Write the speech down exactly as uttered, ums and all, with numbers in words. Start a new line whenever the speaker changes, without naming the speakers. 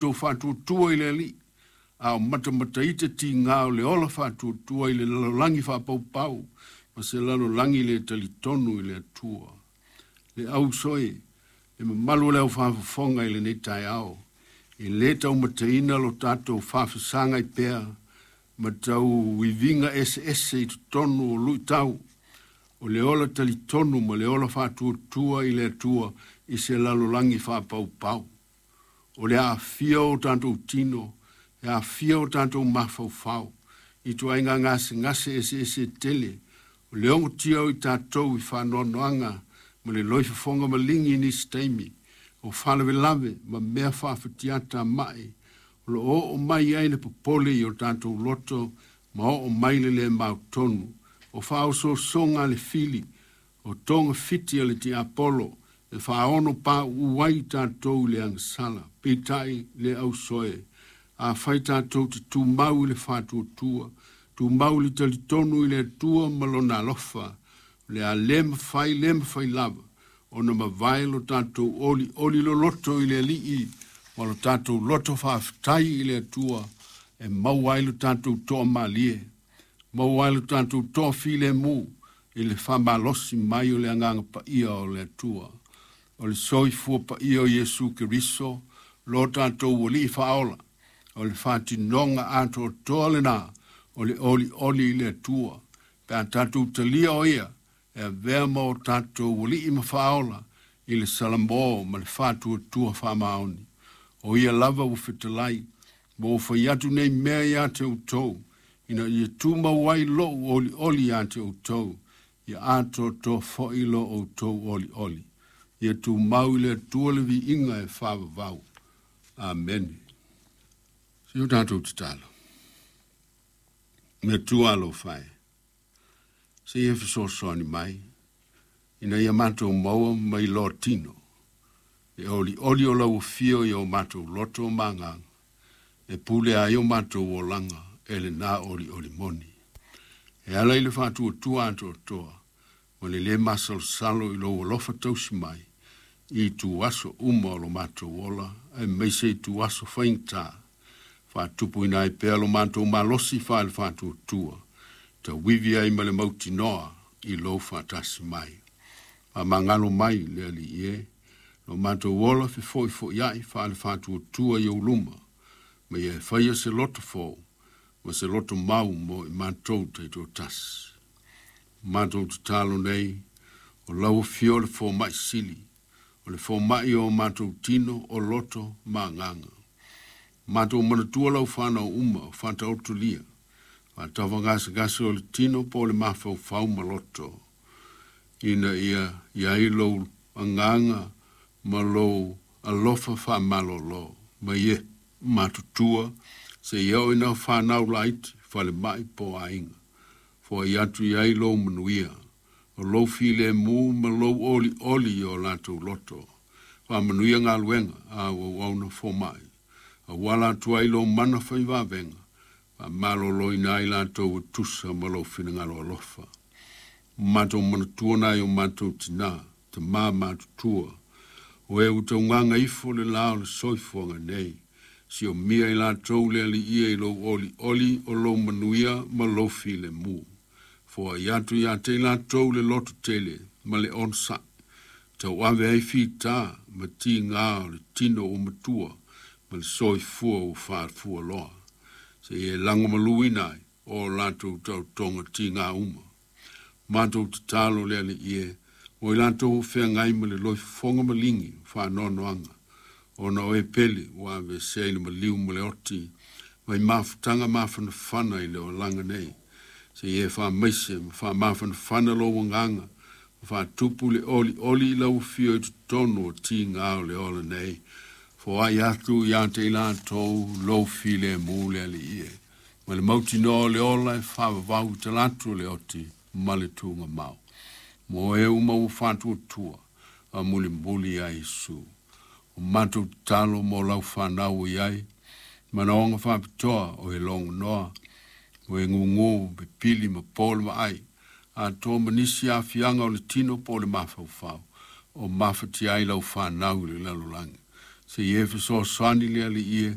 Tou faatuatua i le Alii, a o matamata ita tiga o le ola faatuatua i le lalolagi faapaupau ma se lalolagi le talitonu i le Atua. Le auso e, le mamalu o le aufafofoga i lenei taeao, e lē taumateina lo tatou faafesagai pea ma tau iviga eseese i totonu o luitau, o le ola talitonu ma le ola faatuatua i le Atua i se lalolagi faapaupau. O le aafia o tatou tino, e aafia o tatou mafaufau, i ituaiga gasegase eseese tele, o le ogotia o i tatou i faanoanoaga ma le loifofoga maligi i nisi taimi, o faalavelave ma mea faafatiata mai, o lo o oo mai ai le popole i o tatou loto ma oo mai le lē mautonu, o faaosoosoga a le fili, o togafiti a le tiapolo, e faaono pauu ai tatou i le agasala. Peitai le ausoe, afai tatou te tumau i le faatuatua, tumau i le talitonu i le Atua ma lona alofa, o le a le mafai le mafai lava ona mavae lo tatou olioli loloto i le Alii ma lo tatou loto faafetai i le Atua e maua ai lo tatou toamalie, maua ai lo tatou toafilemu i le faamalosi mai o le Agaga Paia o le Atua. O le soifua paia o Iesu Keriso, lo tatou Alii faaola, o le faatinoga atoatoa lena o le olioli i le Atua, pe a tatou talia o ia e avea ma o tatou Alii ma Faaola i le salamo ma le faatuatua faamaoni. O ia lava ua fetalai, ma ua fai atu nei mea ia te outou, ina ia tumau ai lou olioli ia te outou, ia atoatoa foi lo outou olioli. Ia tumau i le Atua le viiga e faavavau. Amene. Se o tatou tatalo. Me Atua alofa e, se ia fesoasoani mai, ina ia matou maua mai loa tino, e olioli o lau afio i o matou loto ma agaga, e pule ai o matou olaga e lena olioli moni. E ala i le faatuatua atoatoa, ma le lē masalosalo i lou alofa tausi mai, i ituaso uma o lo matou ola, aemaise ituaso faigata, faatupuina ai pea lo matou malosi faale faatuatua, tauivi ai ma le mautinoa i lou faatasi mai. Faamagalo mai le Alii e, lo matou ola fefoifoiai faale faatuatua i ou luma, ma ia e faia se loto fou, ma se loto mau mo i matou taitoatasi. Matou tatalo nei, o lau afio le fomai sili, o le fomai o matou tino, o loto ma agaga. Matou manatua lau fanau uma o faataotolia, faatavagasegase o le tino po o le mafaufau ma loto, ina ia i ai lou agaga ma lou alofa faamalolo, ma ia matutua seia oo ina fanau laiti, falemai po o aiga. Foai atu i ai lou manuia, o lou filemu ma lou olioli i o latou loto. Faamanuia galuega a auauauna fomai, auala atu ai lou mana faivavega, faamaloloina ai latou e tusa ma lou finagalo alofa. Matou manatua nai o matou tinā, tamā matutua, o e ua taugaga ifo le la o le soifuaga nei, siomia i latou le Alii e i lou olioli o lou manuia ma lou filemu. Foai atu ia te i latou le loto tele ma le onosai, tauave ai fitā ma tigā o le tino ua matua ma le soifua ua faafualoa, seia e lagomaluina ai o latou taotoga tigā uma. Matou tatalo le Alii e, mo i latou o feagai ma le loifofoga maligi faanoanoaga, ona o e pele ua aveesea i le maliu ma le oti, mai mafutaga mafanafana i le olaga nei, seia e faamaise ma faamafanafana lou agaga, ma faatupu le olioli i lau afio i totonu o tigā o le ola nei, foai atu ia te i latou lou filemu le Alii e, ma le mautinoa o le ola e faavavau i talaatu o le oti ma le tugamau. Mo e uma ua faatuatua, a mulimuli ia Iesu. O matou tatalo mo lau fanau o i ai, manaoga faapitoa o e logonoa, o e gugu, pepili ma po le vaai, atoa ma nisi aafiaga o le tino po o le mafaufau, o mafatia ai lau fanau i le lalolagi. Seia e fesoasoani le Alii e,